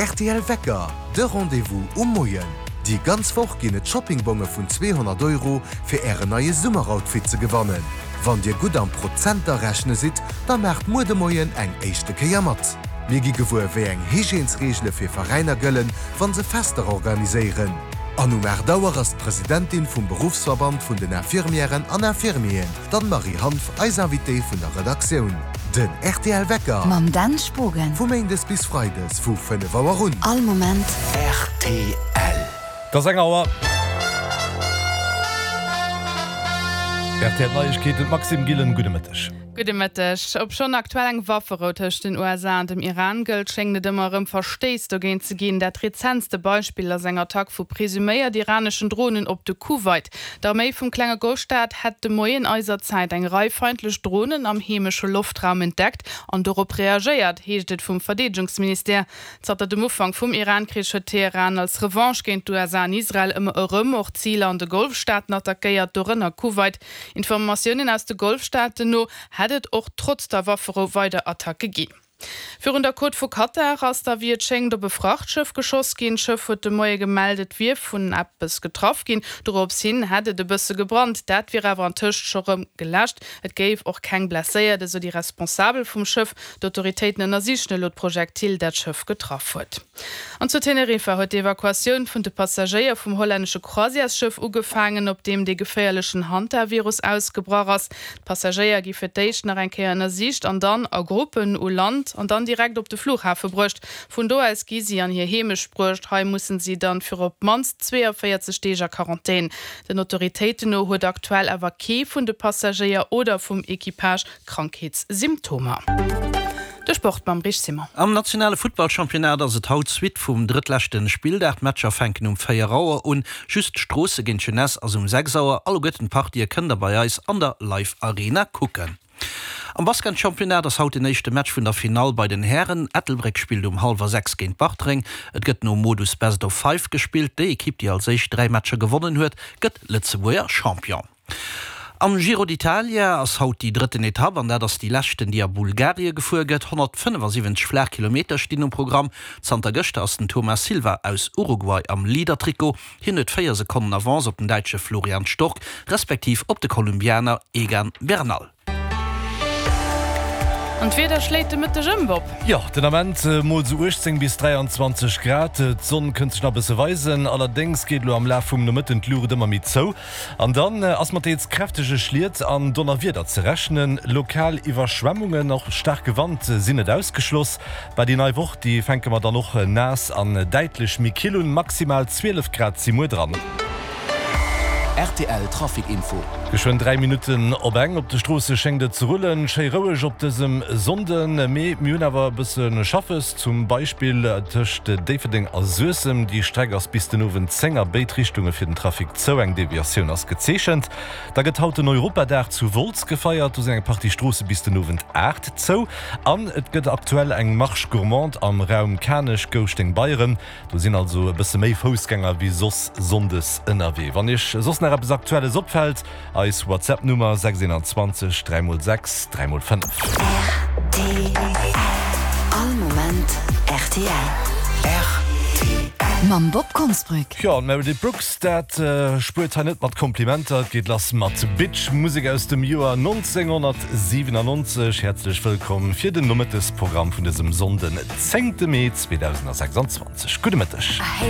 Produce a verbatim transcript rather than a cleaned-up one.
R T L Wecker, de Rendez-vous um Moien. Déi ganz Woch ginn et Shoppingbonge vun zweehonnert Euro fir ären neie Summeroutfit ze gewannen. Wann dir gutt am Prozenter rechne sidd, da maacht muer de Moien eng éischte Kéier mat. Mir gi gewuer, wéi eng Hygiènesreegele fir Veräiner gëllen, wann se Fester organiséieren. An um aacht Auer ass d'Presidentin vum Beruffsverband vun den Infirmièren an Infirmieren, d'Anne-Marie Hanff, eis Invitée vun der Redaktioun. Den R T L Wecker. Mam Dan Spogen. Vu méindes bis freides vu fënnef Auer un. All Moment. R T L. Et ass eng Auer. R T L Neiegkeeten, Maxime Gillen, gudde Mëtteg. Gudde Mëtteg. Obschonn aktuell eng Wafferou tëscht den U S A an dem Iran gëllt, schéngt et ëmmer erëm Verstéiss dogéint ze ginn. Dat rezentste Beispill ass eng Attack vu presuméiert iraneschen Dronen op de Kuwait. D'Arméi vum klenge Golfstaat hätt de Moien eiser Zäit eng Rei feindlech Dronen am heemesche Loftraum entdeckt an dorop reagéiert, heescht et vum Verdeedegungsministère. Zanter dem Ufank vum Iran-Krich huet Teheran als Revanche géint d'U S A an Israel ëmmer erëm och Ziler an de Golfstaaten attackéiert, dorënner Kuwait. Informatiounen aus de Golfstaaten no hätt et och trotz der Wafferou weider Attacke ginn. Virun der Côte vu Katar ass da wéi et schéngt op e Frachtschëff geschoss ginn. D'Schëff huet de Moie gemellt, et wier vun eppes getraff ginn. Dorops hin hätt et e bësse gebrannt. Dat wier awer antëscht scho rëm geläscht. Et géif och keng Blesséiert, esou déi Responsabel vum Schëff. D'Autoritéiten ënnersichen elo d'Projektil, dat d'Schëff getraff huet. An zu Teneriffa huet d'Evakuatioun vun de Passagéier vum hollännesche Croisièresschëff ugefaangen, op deem de geféierlechen Hantavirus ausgebrach ass. D'Passagéier gi fir d'éischt nach eng Kéier ënnersicht an dann a Gruppen u Land an dann direkt op de Flughafe bruecht. Vun do aus gi si an hir Heemecht bruecht. Hei mussen si dann fir op d'mannst zweeënvéierzeg Deeg a Quarantän. Den Autoritéiten no huet aktuell awer kee vun de Passagéier oder vum Equipage Krankheetssymptomer. De Sport mam Rich Simon. Am nationale Futtballchampionnat ass et haut d'Suite vum drëttleschte Spilldag. D'Matcher fänken um véier Auer un. Just Stroossen géint Jeunesse ass um sechs Auer. Alleguerten d'Partië kënnt der bei eis an der Live Arena kucken. Am Basketchampionnat ass haut den éischte Match vun der Finall bei den Hären. Ettelbréck spillt um hallwer sechs géint Bartreng. Et gëtt nom Modus Best of Five gespillt. Déi Ekipp, déi als éischt dräi Matcher gewonnen huet, gëtt Lëtzebuerger Champion. Am Giro d'Italia ass haut déi drëtten Etapp an dat ass déi leschten, déi a Bulgarie gefuer gëtt. honnertfënnefasiwwenzeg flaach Kilometer stinn um Programm. Zanter gëschter ass den Thomas Silva aus Uruguay am Leader-Trikot. Hien huet véier Sekonnen Avance op den Däitsche Florian Stork, respektiv op de Kolumbianer Egan Bernal. An d'Wieder schléit de Mëtteg ëm, Bob. Jo, den Ament mol sou uechtzéng bis dräianzwanzeg Grad. D'Sonn kënnt sech nach e bësse weisen, allerdéngs geet elo am Laf vum Nomëtten d'Luucht ëmmer méi zou. An dann ass mat deels kräftege Schliet an Donnerwieder ze rechnen. Lokal Iwwerschwemmungen, och staarke Wand sinn net ausgeschloss. Bah, déi nei Woch, déi fänke mer dann och naass an däitlech méi kill un. Maximal zwielef Grad si muer dran. R T L Trafic Info. Geschwënn dräi Minutten op eng. Op de Stroosse schéngt et ze rullen. Schéi roueg op dësem Sonnden, mee mir hunn awer e bësse Schaffes, zum Beispill tëscht Déifferdeng a Suessem. Déi Streck ass bis den Owend zéng a béid Richtunge fir den Trafic zou. Eng Deviatioun ass gezeechent. Da gëtt haut den Europadag zu Wolz gefeiert. Do sinn eng Partie Stroosse bis den Owend aacht zou. An et gëtt aktuell eng Marche gourmande am Raum Kanech-Gouschteng-Beyren. Do sinn also e bësse méi Foussgänger wéi soss sonndes ënnerwee. Wann Iech soss nach eppes Aktuelles opfält, eis WhatsApp-Nummer sechs einundzwanzeg dräi mol sechs dräi mol fënnef. R T L. All Moment R T L. R T L. Mam Bob Konsbrück. Jo, d'Meredith Brooks, dat spuert hei net mat Komplimenter. Et geet lass mat Bitch, Musek aus dem Joer nonzénghonnertsiwenannonzeg. Häerzlech wëllkomm fir den Nomëttesprogramm vun dësem Sonnden, zéngte Mee zweedausendsechsanzwanzeg. Gudde Mëtteg.